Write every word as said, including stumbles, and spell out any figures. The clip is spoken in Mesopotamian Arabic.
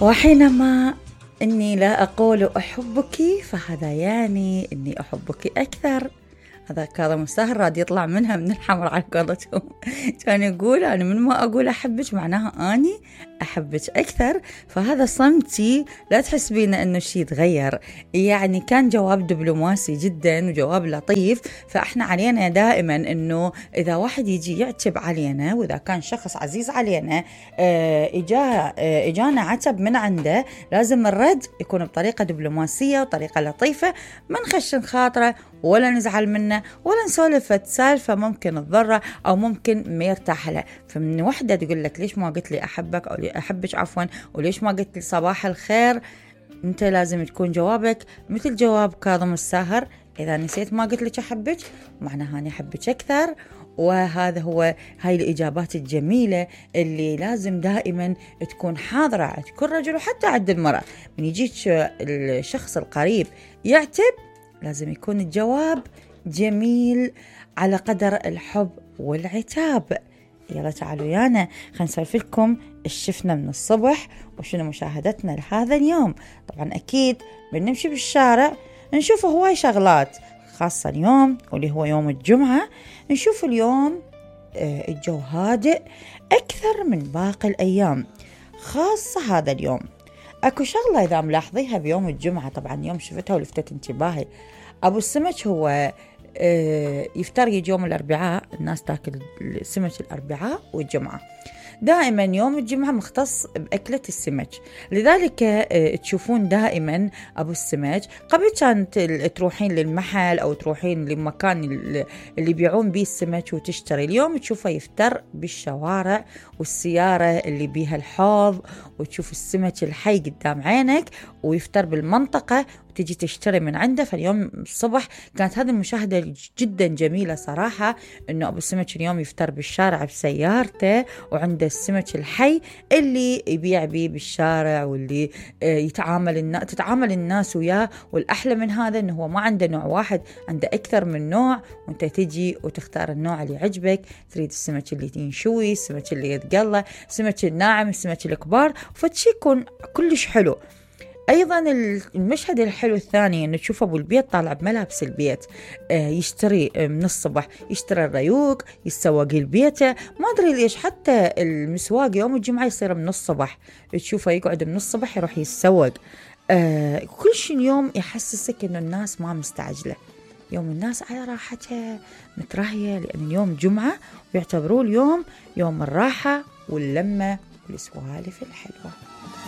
وحينما إني لا أقول أحبك فهذا يعني إني أحبك أكثر. هذا كاظم الساهر راد يطلع منها من الحمر على قولتهم. كان يقول أنا من ما أقول أحبك معناها أني أحبك أكثر. فهذا صمتي لا تحسبين أنه شيء يتغير، يعني كان جواب دبلوماسي جدا وجواب لطيف. فإحنا علينا دائما أنه إذا واحد يجي يعتب علينا، وإذا كان شخص عزيز علينا إجا إجانا عتب من عنده، لازم الرد يكون بطريقة دبلوماسية وطريقة لطيفة، ما نخشن خاطره ولا نزعل منه ولا نسولف سالفة ممكن تضره أو ممكن ما يرتاح له. فمن وحدة تقول لك ليش ما قلت لي أحبك أو أحبك عفوا، وليش ما قلت لي صباح الخير، أنت لازم تكون جوابك مثل جواب كاظم الساهر. إذا نسيت ما قلت لك أحبك معناها أنا أحبك أكثر. وهذا هو هاي الإجابات الجميلة اللي لازم دائما تكون حاضرة عند كل رجل وحتى عند المرأة. من يجيك الشخص القريب يعتب لازم يكون الجواب جميل على قدر الحب والعتاب. يلا تعالوا يانا خلينا نسولف لكم ايش شفنا من الصبح وشنو مشاهدتنا لهذا اليوم. طبعا أكيد بنمشي بالشارع نشوف هواي شغلات، خاصة اليوم واللي هو يوم الجمعة. نشوف اليوم الجو هادئ أكثر من باقي الأيام، خاصة هذا اليوم. أكو شغلة إذا ملاحظيها بيوم الجمعة، طبعا يوم شفتها ولفتت انتباهي. أبو السمك هو يفتر يجي يوم الأربعاء، الناس تاكل السمك الأربعاء والجمعة. دائما يوم الجمعة مختص بأكلة السمك، لذلك تشوفون دائما أبو السمك. قبل كانت تروحين للمحل أو تروحين لمكان اللي بيعون بيه السمك وتشتري، اليوم تشوفه يفتر بالشوارع والسيارة اللي بيها الحوض، وتشوف السمك الحي قدام عينك ويفتر بالمنطقة وتجي تشتري من عنده. فاليوم الصبح كانت هذه المشاهدة جدا جميلة صراحة، إنه أبو السمك اليوم يفتر بالشارع بسيارته وعنده السمك الحي اللي يبيع بيه بالشارع، واللي يتعامل الناس تتعامل الناس وياه. والأحلى من هذا إنه هو ما عنده نوع واحد، عنده أكثر من نوع، وأنت تجي وتختار النوع اللي يعجبك. تريد السمك اللي ينشوي، السمك اللي يتقلى، السمك الناعم، السمك الكبار، فتشي يكون كلش حلو. أيضا المشهد الحلو الثاني أنه تشوف أبو البيت طالع بملابس البيت، يشتري من الصبح، يشتري الريوق، يسوق البيت. ما أدري ليش حتى المسواق يوم الجمعة يصير من الصبح، تشوفه يقعد من الصبح يروح يسوق. كل شيء اليوم يحسسك أنه الناس ما مستعجلة، يوم الناس على راحتها مترهية، لأن اليوم جمعة ويعتبروه اليوم يوم الراحة واللمة والسوالف الحلوة.